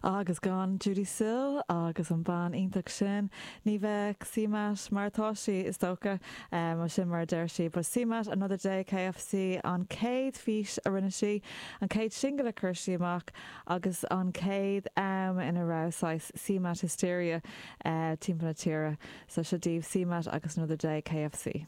Agus gan Judee Sill agus an bean iontach sin, ní bheadh CMAT mar atá sí, is dócha, nó sin mar a deir sí. But CMAT Another Day KFC an chéad fís a rinne sí, an chéad singil a chuir sí amach agus an chéad am ina raibh saghas CMAT hysteria timpeall na tíre. So seo daoibh CMAT agus Another Day KFC.